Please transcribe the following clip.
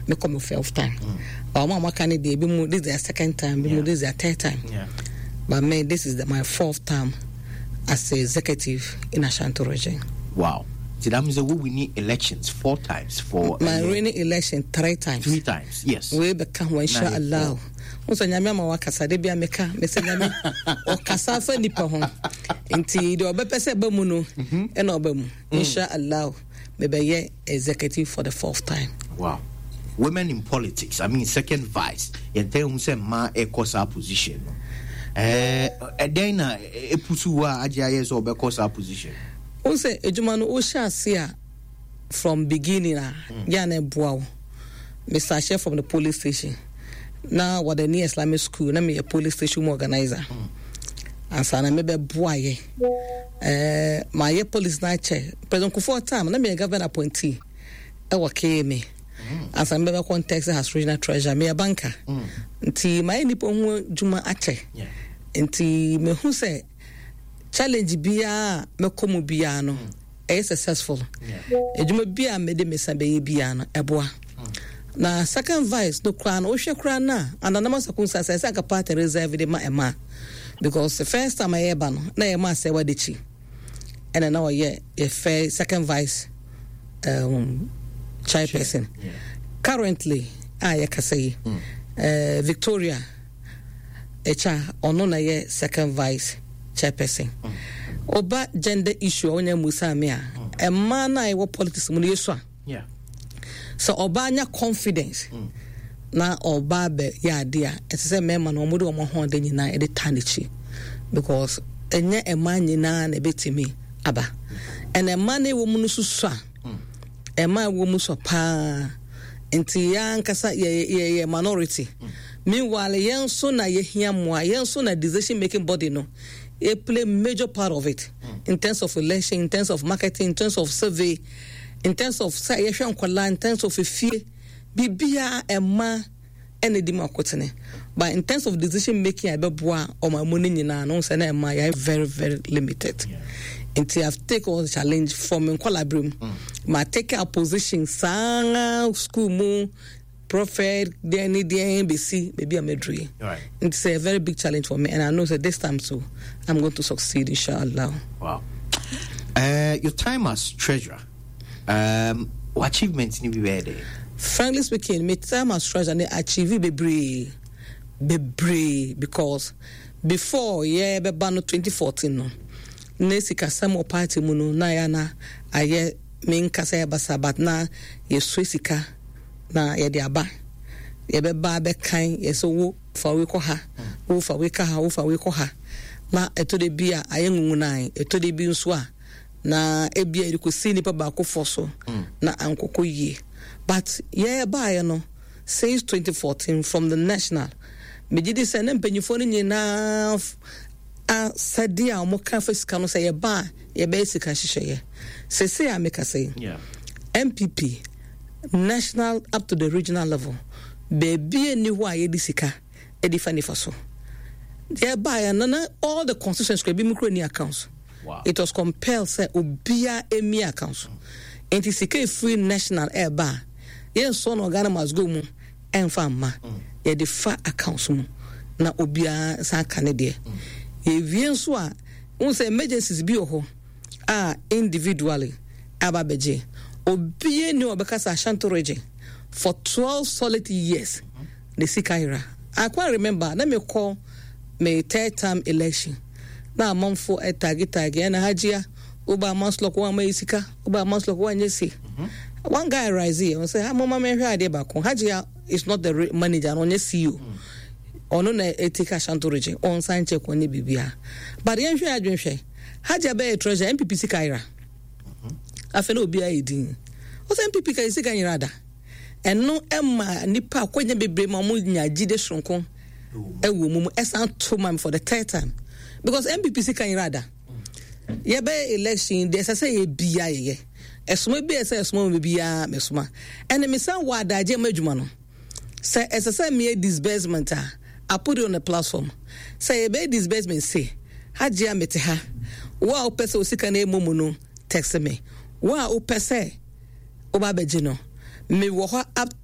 Mekɔ me fourth time. Ɔmo a wɔaka no deɛ, ebi mu this is their second time, ebi mu this is their third time. But me, this is my fourth time as a executive in Ashanti Region. Wow. So that means that we win elections four times for My winning election three times. Three times, yes. Wei bɛka ho, insha Allah. Wo sɛ Nyame ama wakasa de bia meka mesɛ Nyame ɔkasa fa nipa ho. Nti deɛ ɔbɛpɛ sɛ ɛba mu no ɛna ɔba mu. Insha Allah, mebɛyɛ executive for the fourth time. Wow. Women in politics, I mean, second vice. Yɛntɛn hu sɛ mmaa ɛkɔ saa position no. Ɛdɛn na epusu wo a agye ayɛ sɛ ɔbɛkɔ saa position? Wo sɛ adwuma no, wohyɛ ase a from beginning a yɛ a na ɛboa wo. Mr. Ahyɛ from the police station na wɔde ne Islamic school na meyɛ police station mu organizer ansa na mebɛboa yɛ. Mayɛ police na akyɛ. President Kufuor time na meyɛ government appointee ɛwɔ KMA ansa na mebɛbɛ contest as regional treasurer. Meyɛ banker nti mayɛ nipa ho adwuma akyɛ. Nti mehu sɛ challenge biara a mɛkɔ mu biara no ɛyɛ successful. Adwuma bi a mede me nsa bɛyɛ biara no ɛboa. Na second vice no koraa no, wohwɛ koraa no a, ananam circumstance ɛsɛ anka party reserve de ma ɛma, because the first time a yɛba no na yɛma asɛ wade kyi ɛna na ɔyɛ yɛfɛ second vice chairperson. Currently a yɛkasa yi, Victoria ɛkya ɔno na yɛ second vice chairperson. Ɔba gender issue a wonya musa me a, ɛmmaa no a ɛwɔ politics mu no yɛsu a sɛ ɔbaa nya confidence na ɔbaa bɛ yɛ ade a, ɛsɛ sɛ mmarima no wɔde wɔn ahoɔden nyinaa ɛde ta n'akyi, because ɛnyɛ mmaa nyinaa na ɛbɛtumi aba. Ɛna mmaa no ɛwɔ mu no soso a, mmaa ɛwɔ mu so paa nti yɛn ankasa yɛ minority. Meanwhile, yɛn nso na yɛhia mmoa. Yɛn nso na decision making body no yɛ play major part of it in terms of election, in terms of marketing, in terms of survey, in terms of sɛ yɛhwɛ nkɔlaa, in terms of efie biribiara, ɛma ɛna di mu akotene. But in terms of decision making a ɛbɛboa ɔman mu no nyinaa no sɛ na ɛma yɛ very very limited. Nti I've take all the challenge from nkɔlaa bere mu. Ma take a position saa school mu prophet deɛ ne deɛ bɛsi baabi a mɛduru yi. It's a very big challenge for me, and I know that this time too I'm going to succeed, inshallah. Wow. Your time as treasurer, what achievements ni bi bɛyɛ dɛ? Frankly speaking, my time as treasurer ne achieve bebree bebree, because before yɛ bɛba no 2014 no, ne sikasɛm wɔ party mu no na yɛ na ayɛ menkasa yɛ basa, but na yɛsue sika na yɛde aba, yɛbɛba bɛkan yɛsɛ wo fa wei kɔ ha, wo fa wei ka ha, wo fa wei kɔ ha. Na ɛtɔ de bi a ayɛ nwunwunan, ɛtɔ de bi nso a na ebi a yɛde kɔsi nipa baako fɔ so na ankɔkɔ yie. But yɛbaeɛ no since 2014 from the national, megye di sɛ ne mpanyinfoɔ no nyinaa asɛdeɛ a wɔka fa sika no sɛ yɛba a yɛbɛyɛ sika nhyehyɛeɛ. Sese a meka sɛ NPP national up to the regional level, beebi ni hɔ a yɛde sika ɛde fa nifa so. Yɛbaeɛ no na all the constituencies kora bi mu kura ni accounts. It was compelled sɛ obiara emi accounts. Nti sika efiri national ɛɛba a, yɛnsɔ no Ghana Must Go mu ɛnfa mma, yɛde fa accounts mu na obiara san ka ne deɛ. Yɛwie nso a, n sɛ emergencies bi wɔ hɔ a individually aba abɛgye. Obiara ni ɔbɛka sɛ Ashanti Region for 12 solid years ne sika yera. I quite remember na mekɔ me third time election na amanfo ɛtagi tagi ɛna Hajia woba MASLOC wɔn ama yɛ sika, woba MASLOC wɔn anyɛ si. One guy rise here, ɔsɛ ha mama mehwɛ adeɛ baako. Hajia is not the manager na ɔnyɛ CEO. Ɔno na ɛtake Ashanti Region ɔnsan check ɔnyɛ biribiara, but yɛnhwɛ adwene hwɛ Hajia bɛyɛ treasurer, NPP sika yera. Afei na obiara yɛ din ɔsɛ NPP ka yɛ sika nyera da. Ɛno ɛma nipa akɔnya bebree ma ɔmo nya gyide soronko ɛwɔ mu ɛsan to ma me for the third time, because NPP sika nyera da. Yɛbɛyɛ election deɛ, ɛsɛ sɛ yɛ bia yɛyɛ ɛsoma bi a ɛsɛ ɛsoma mu biara mɛsoma. Ɛna mesan wɔ adagye ma adwuma no sɛ ɛsɛ sɛ meyɛ disbursement a, I put it on the platform sɛ yɛbɛyɛ disbursement se Hajia mete ha, wo a wopɛ sɛ osika no ɛmɔ mu no, text me. Wo a wopɛ sɛ woba abɛgye no, mewɔ hɔ up.